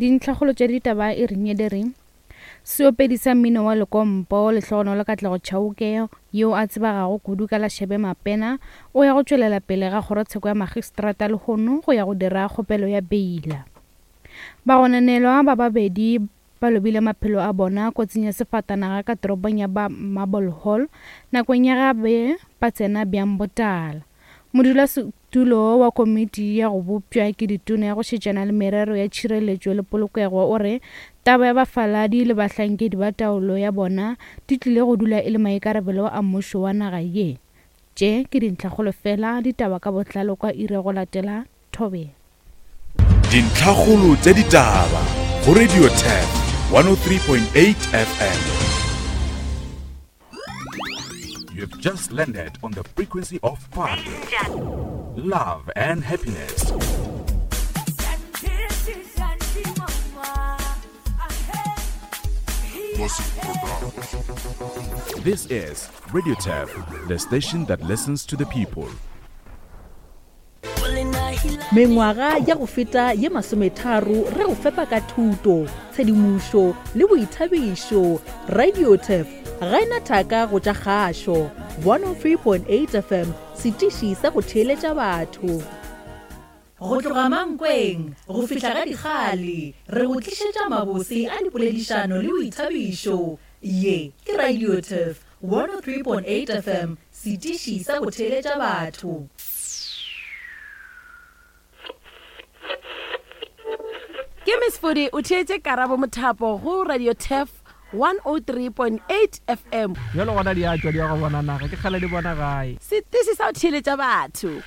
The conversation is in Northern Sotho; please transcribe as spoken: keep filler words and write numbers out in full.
Dintlhakgolo tša ditaba e reng di re seopedi sa mmino wa lekompo Lehlogonolo Katlego Chauke yo a tsebegago kudu ka la Shebe Mapena o ya go tšwelela pele ga kgorotsheko ya magistrata lehono go ya go dira kgopelo ya beila. Bagononelwa ba babedi ba lobile maphelo a bona kotsing ya sefatanaga ka toropong ya ba Marble Hall nakong ya gabe ba tsena bjang botala. Modulasetulo wa komiti ya go bopša ke ditona ya go šetšana le merero ya tšhireletšo le polokego o re taba ya bafaladi le bahlankedi ba taolo ya bona di tlile go dula e le maikarabelo a mmušo wa naga ye. Tše ke dintlhakgolo fela, ditaba ka botlalo kwa iri go latela Thobela. Dintlhakgolo tša ditaba go Radio Turf one oh three point eight F M. You've just landed on the frequency of fun, love and happiness. This is Radio Turf, the station that listens to the people. Mengwaga ya go feta ye masometharo re go fepa ka thuto, tshedimošo le boithabišo. Radio Turf ga ena thaka go tša kgašo. one oh three point eight F M, setiši sa go theeletša batho. Go tloga Mankweng go fihla ga Dikgale, re go tlišetša mabose a dipoledišano le boithabišo. Ye ke Radio Turf one oh three point eight F M, setiši sa go theeletša batho. Ke Miss Fodi o theetše Karabo Mothapo go Radio Turf one oh three point eight F M. Bjalo gona di a tšwa di ya go bona naga, ke kgale di bona gae. Setiši sa go theeletša batho.